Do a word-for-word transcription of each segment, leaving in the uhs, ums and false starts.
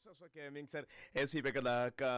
Sweswo ke mixer swi veka la ka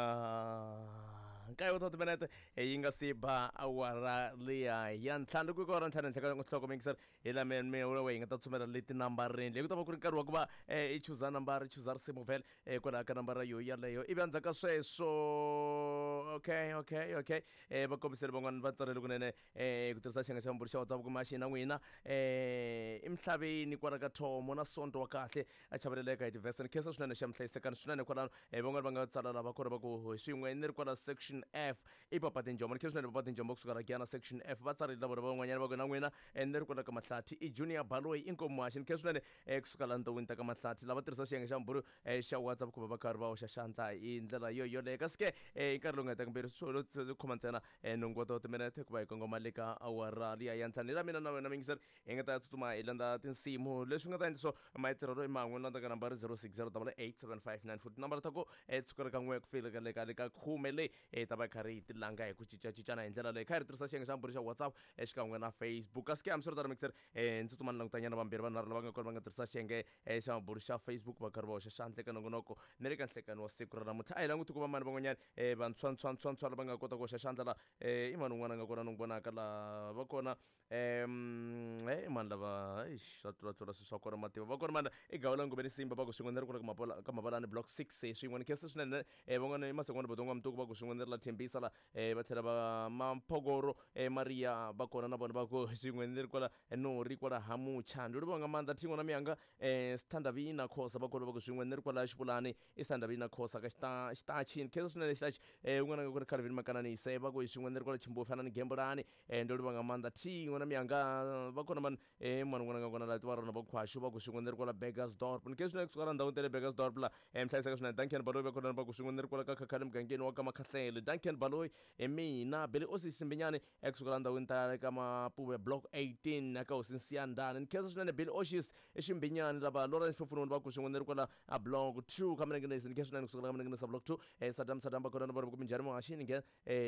nkaye wa timinete yi nga si ba awara liya ya ntlhanu ku awara ntlhanu henhla ka nhloko mixer hi la me me hi nga ta tsumela le tinambareni leyi ku ta va ku ri nkarhi wa ku va i chuza nambara i chuza risimu vhele kwalaho ka nambara yo yaleyo ivi endzhaku ka sweswo okay okay okay eh va kombisele van'wana va tsalele kunene eh ku tirhisa xiyenge xa mburi xa WhatsApp kuma xi na n'wina eh emhlabeni kwala ka thomo na sonto wa kahle a chaveleleka hi tivheseni khensa swinene xa mhlayisekani swinene kwalano eh van'wana va nga tsala lava kona va ku swin'we ni ri kwala section F i papa tinjombo ni khensa swinene papa tinjombo kusuka la Giyana section F va tsarile vona van'wanyana va ku na n'wina ni ri kwala ka Mahlathi i Junior Baloyi i Nkomo Haxi ni khensa swinene eh kusuka la ndhawini ta ka Mahlathi lava tirhisa xiyenge xa mburi xa WhatsApp ku va va karhi va hoxa xandla hi ndlela yo yoleyo kasi ke hi nkarhi lowu nga hetaka mbirhi swo khoma ntsena nhungu wa timinete ku va hi kongoma le ka awara liya ya ntlhanu hi la mina na wena mingiseri hi nga ta tsutsuma hi landza tinsimu leswi nga ta endla swo matirhelo i man'we landza ka nambara zero six zero double eight seven five nine futhi nambara ta ku tsukela ka n'we ku fika le ka le ka khume leyi hi ta va hi karhi hi tilanga hi ku cincacincana hi ndlela leyi kha hi ri tirhisa xiyenge xa mburi xa WhatsApp xikan'we na Facebook kasi ke hambiswiritano mixer ndzi tsutsuma ni langutanyana vambirhi vanharhu lava nga kona va nga tirhisa xiyenge xa mburi xa Facebook va karhi va hoxa xandla eka nongonoko ni le ka nhlekani wa siku ra namuntlha a hi languti ku va mani van'wanyana vantshwantshwantshwantshwa lava nga kota ku hoxa xandla la i mani un'wana a nga kona ni n'wi vonaka la va kona um i mani lava eish swa tlulatlula swilo swa kona mativa va kona mani i Gawula Ngobeni Simba va ku swin'we ni ri kula ka Mabalani block six swin'we ni khensa swinene van'wana i Masengwana Bodongo Mtuku va ku swin'we ni ri la Thembisa la va tlhela va Mamphogoro Maria va kona na vona va ku swin'we ni ri kwala Nori kwala Hamucha ndi livha nga maanḓa thingo na miyanga Sithandavina Khosa va kona va ku swin'we ni ri kwala Xivulani i Sithandavina Khosa ka xitachi ni khensa swinene xitachi un'wana nga ku ri Calvin Makananise va ku swin'we ni ri kwala Chimbofana ni Gembulani ndo livha nga maanḓa thingo na miyanga va kona mani mani un'wana nga kona la tiva rona va Khwashu va ku swin'we ni ri kwala Burgersdorp ni khensa swinene kusuka la ndhawini ta le Burgersdorp la mhlayiseka swinene Duncan Baloyi va kona va ku swin'we ni ri kwala ka Khakhale mugangeni wa ka Makhahlele Duncan Baloyi hi mina Billy Osisi Mbinyane ekusuka la ndhawini ta ka Mapuve block eighteen aka Hosi Nsiyandani ni khensa swinene Billy Oshis Ximbinyane lava Lawrence Fofunoni va ku swin'we ni ri kwala a block two ka Minengenesi ni khensa swinene kusuka la ka Minengenesi block two Saddam Saddam va kona na vona ku minjhani muhaxini nge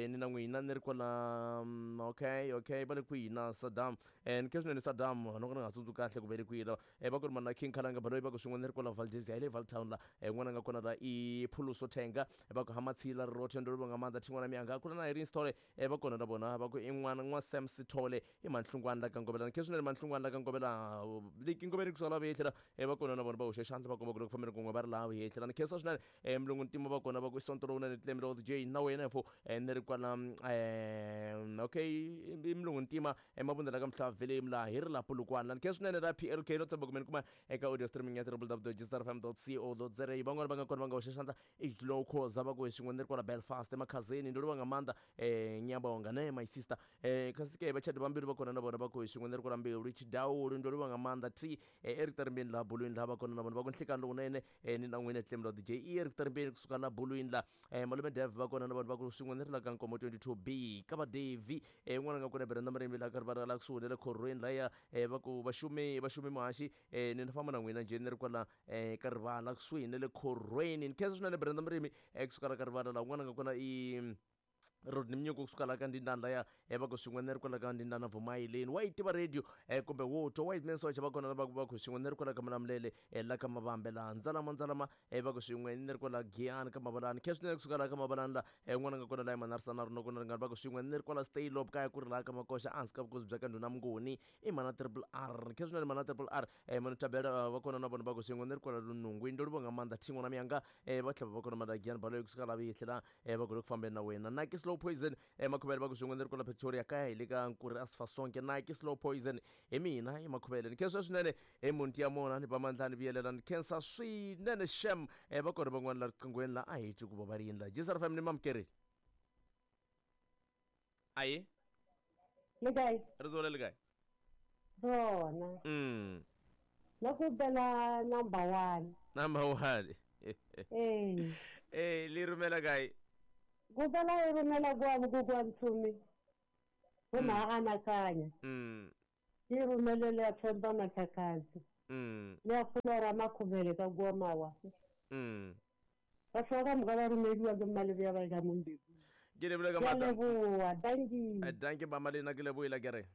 ni na n'wina ni ri kwala okay okay va le kwihi na Saddam ni khensa swinene Saddam no ka ni nga tsundzuki kahle ku ve le kwihi va ku ri mana King Khalanga Baloyi va ku swin'we ni ri kwala Valdezia hi le Valtown la n'wana nga kona la i Phuluso Thenga va ku Hamatsila Rothe ndo nga maanḓa thin'wana miyanga kula na Irene Sithole va kona na vona va ku i n'wana n'wa Sam Sithole i Manhlungwana la ka Ngovela ni khensa swinene Manhlungwana la ka Ngovela liki Ngovela kusuka la vuyehlela va kona na vona va hoxe xandla va komba ku loko fambeni kun'we va ri laha vuyehlela ni khensa swinene Mulungu Ntima va kona va ku i sonto lowunene Tlemelo D J na wena fo ni ri kwala okay i Mulungu Ntima Mabunda la ka Mhlavhelemu laha hi ri la Polokwane la ni khensa swinene la P L K no tshemba ku mi ni kuma eka audio streaming ya w w w dot g f m dot co dot za van'wana va nga kona va nga hoxa xandla i Glow Khoza va ku hi swin'we ni ri kwala Belfast emakhazeni ndo livha nga maanḓa ngiyabonga ne my sister kasi ke vachadi vambirhi va kona na vona va ku hi swin'we ni ri kwala Mbilu Chidaulu ndo livha nga maanḓa t Eric Tarimbeni laha Bulwini laha va kona na vona va ku nhlikani lowunene ni na n'wina Tlemelo D J i Eric Tarimbeni kusuka la Bulwini la Malume Dev va kona na vona va ku swin'we ni ri la ka Nkomo twenty-two B ka va Devi un'wana nga kona Brenda Marembi la karhi va ri la kusuhi na le khorweni laya va ku vaxumi vaxumi muhaxi ni na famba na n'wina njhe ni ri kwala ka rivala kusuhi na le khorweni ni khensa swinene Brenda Murimi kusuka la ka rivala la un'wana nga kona i Rodney Mnyuku kusuka la ka Ndindana laya va ku swin'we ni ri kwala ka Ndindana Vumayileni wa yi tiva radio kumbe wo twa wa yi socha va kona va ku va ku swin'we ni ri kwala ka Malamulele la ka Mavambe laha Ndzalama Ndzalama va ku swin'we ni ri kwala Giyani ka Mabalani khensa swinene kusuka la ka Mabalani la un'wana nga kona la Manarisana ri nokona ringana va ku swin'we ni ri kwala Staylob kaya ku ri laha ka Makoxa ehansi ka vukosi bya ka Ndhuna Mnguni i mana Triple R khensa swinene mana Triple R manu Thabela va kona na vona va ku swin'we ni ri kwala Lunungwini ndo livha nga maanḓa thin'wana miyanga va tlhela va kona mana Giyani Baloyi kusuka la vuyehlela va ku ri ku fambeni na wena Nike Slow Poison Makhuvele va ku swin'we ni ri kwala Pretoria kaya hi le ka Nkuri Asifasonke Nike Slow Poison hi mina hi Makhuvele ni khensa swinene hi munti ya mona ni va mandla ni vuyelela ni khensa swinene shem va kona van'wana la riqinghweni la a hi twi ku va va ri yini la G S R F M ni mamukerile ayi le kae ri zole le kae rona mm na ku bela number one number one eh eh li rumela kae Kubala i rumela kwa kwa Ntshumi go maanakanya mm i rumelele ya Themba Mathakazi mm le ya Flora Makhuvele ka kwa Mawa mm ba soka mga ba rumeliwa ke malebe ya ba ka Mombeku ke leboha ka matla leboha thank you thank you mama lena ke lebohela ke re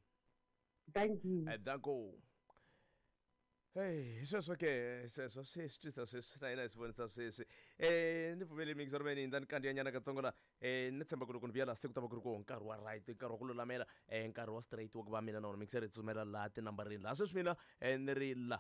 thank you danko. Hey, sweswo ke sweswo swi swi twisa sweswi na hina hi swi vonisa sweswi um ni pfumeli mixer meni ndza ni kandziyanyana katsongo la um ni tshemba ku loko ni vuya laha se ku ta va ku ri koho nkarhi wa right nkarhi wa ku lulamela um nkarhi wa straight wa ku va mina na wona mixer hi tsutsumela laha tinambarini laha sweswi mina um ni ri la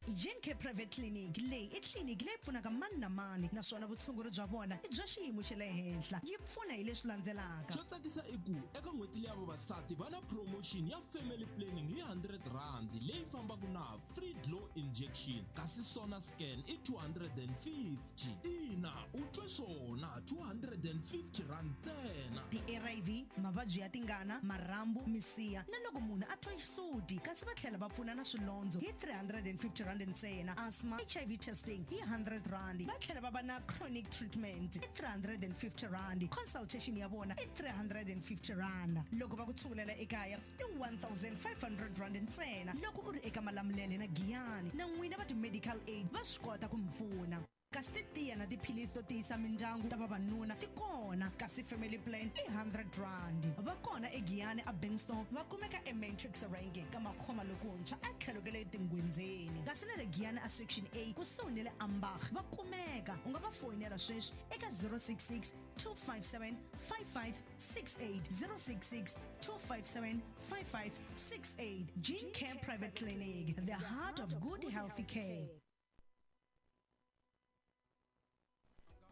Gencare Private Clinic leyi i tliliniki leyi pfunaka mani na mani naswona vutshunguri bya vona i bya xiyimo xa le henhla yi pfuna hi leswi landzelaka xo tsakisa i ku eka n'hweti leya vavasati va na promotion ya family planning hi hundred rand leyi fambaka na free glow injection kasi sona scan i two hundred and fifty ina u twe swona two hundred and fifty rand ntsena ti-A R V mavabyi ya tingana marhambu misiha na loko munhu a twa xisuti kasi va tlhela va pfuna na swilondzo hi three hundred and fifty rand ntsena asthma H I V testing hi hundred rand va tlhela va va na chronic treatment i three hundred and fifty rand consultation ya vona i three hundred and fifty rand loko va ku tshungulela ekaya i one thousand five hundred rand ntsena loko u ri eka Malamulele na Giyani na n'wina va ti-medical aid va swi kota ku mi pfuna kasi titiya na tiphilisi to tiyisa mindyangu ta vavanuna ti kona kasi family plan i hundred rand va kona eGiyani a Bankston va kumeka eMatrix Rank ka makhoma lokuntshwa etlhelo ka le tingwenzeni kasi na le Giyani a Section A kusuhi ni le Ambach va kumeka u nga va foyinela sweswi eka zero six six two five seven five five six eight zero six six two five seven five five six eight. Gene Care Private Clinic, the heart of good healthy care.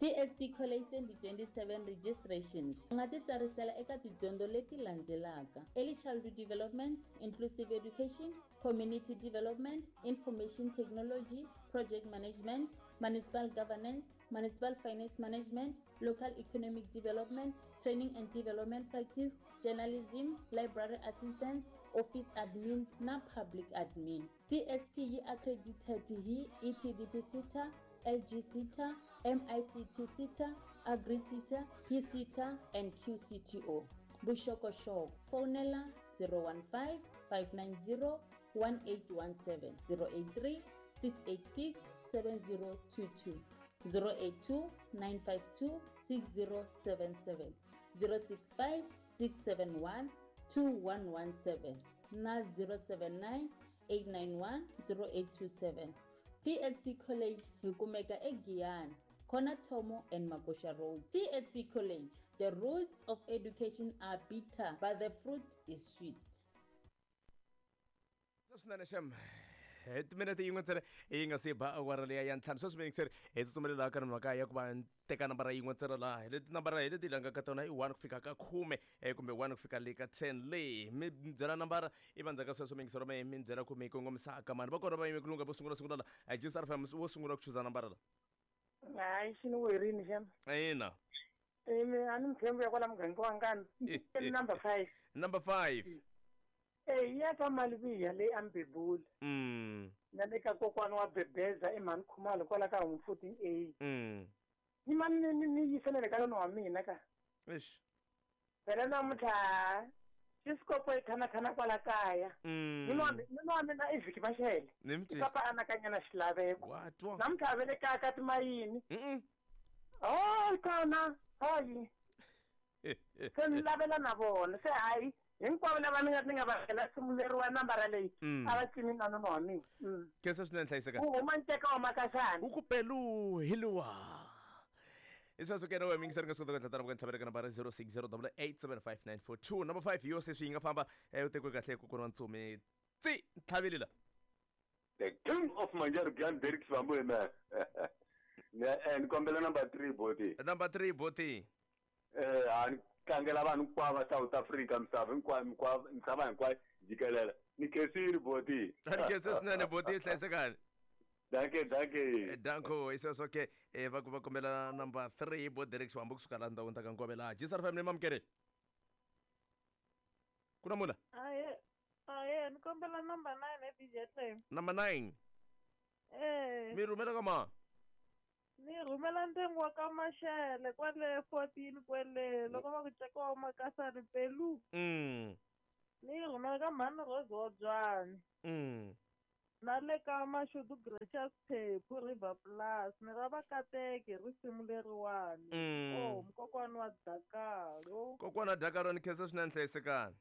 T S P College twenty twenty-seven registrations. U nga ti tsarisela eka tidyondzo leti landzelaka: Early Childhood Development, Inclusive Education, Community Development, Information Technology, Project Management, Municipal Governance, Municipal Finance Management, Local Economic Development, Training and Development Practice, Journalism, Library Assistance, Office Admin na Public Admin. T S P yi accredited hi E T D P SETA, L G SETA, M I C T SETA, AgriSETA, PSETA and Q C T O. Vuxokoxoko fonela zero one five five nine zero one eight one seven, zero eight three six eight six seven zero two two, zero eight two nine five two six zero seven seven, zero six five six seven one two one one seven na zero seven nine eight nine one zero eight two seven. T S P College hi kumeka eGiyani, Corner Thomo and Magosha Road. T S P College, the roots of education are bitter, but the fruit is sweet. Swinene xem hi timinete yin'we ntsena yi nga si ba awara leya ya ntlhanu sweswi mixer hi tsutsumelela ka mhaka ya ku va teka nambara yin'we ntsena laha hi leti nambara hi leti langaka tona i one ku fika ka khume eh, kumbe one ku fika le ka ten leyi mi byela nambara i va ndzhaku ka sweswo mingisero me mi byela ku mi kongomisaka mani va kona va yime ku lunga vo sungula sungula la G S R F M wo sungula ku chuza nambara la. Hayi xi ni werini xem. Ina. Imi a ni mtshembo ya kwala muganga wa ngani number five. Number five. Eh ya ka Maliviya leyi a Mbebuli mm na le ka kokwana wa Bebeza emhani Khumalo kwala ka home fourteen A. mm Ni mani ni ni yiselele ka nona wa mina ka. Eish. Phela namuntlha xisikopo i khanakhana kwala kaya. mm Nuna wa nuna wa mina i vhiki maxele. Ni mi I papa anakanya xilaveko. Wa twa. Namuntlha a ve le kaya ka timayini. Mm. Oh kona hayi se ni lavela na vona se hayi hinkwavo lava ni nga ni nga va hela sunguleriwa nambara leyi Mm. a va cini na nuna wa mina. Mm. Khensa swinene hlayiseka. Ku huma nceka wa makaxana. U ku pelu hi luwa i sweswo ke na wena mingiseri nga swi kota ku tlhatana ntlhavela ka nambara zero six zero eight seven five nine four two number five yo se swi yi nga famba eh, u tekiwe kahle kokwana wa ntsumi tsi ntlhaveli la. The king of Manjargan, Derek Svambu, man. Ne kombela number three, boti. Number three, boti. Eh, a ni tlangela vanhu hinkwavo va South Africa, misava hinkwayo hinkwayo misava hinkwayo jikelele. Ni khensile, boti. Ni khense swinene boti hlayisekani. Danke, danke. Danko i sweswo ke eh, va ku va kombela number three bo Derek Xiwambu kusuka laha ndhawini ta ka Nkovela laha G S R family mamukeleli ku na mula. Aye, aye, ni kombela number nine e D J Clem. Number nine. Eh, mi rhumela ka ma ni rhumela ndyangu wa ka Maxele kwale fourteen kwele loko va ku ceka wa Makasani Pelu. mm Ni rhumela ka mhani Rose wa Byani. mm Na le ka Mashudu Gracious Phephu River Plus ni ra vakateki hi risimu leriwani. Mm. Oh, mkokwani wa Dakalo. Kokwana Dakalo ni khensa swinene hlayisekani.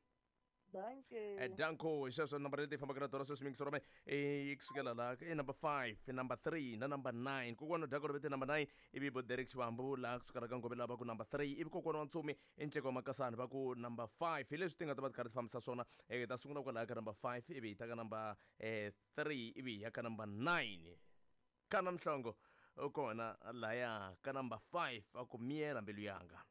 Danke. Danko hi sweswo nambara leti hi fambaka na tona sweswi mingisoro me i kusukela la i number five number three na number nine. Kokwana Dako vete number nine, ivi bo Derek Xivambu laha kusukela ka Ngove laha va ku number three, ivi kokwana wa Ntsumi i Nceka wa Makasani va ku number five. Hi leswi ti nga ta va ti karhi ti fambisa swona. Hi ta sungula kwalaya ka number five, ivi hi ta ka number eh, three, ivi hi ya ka number nine. Kana Mhlongo u kona laya ka number five, a ku miyela mbilu yanga.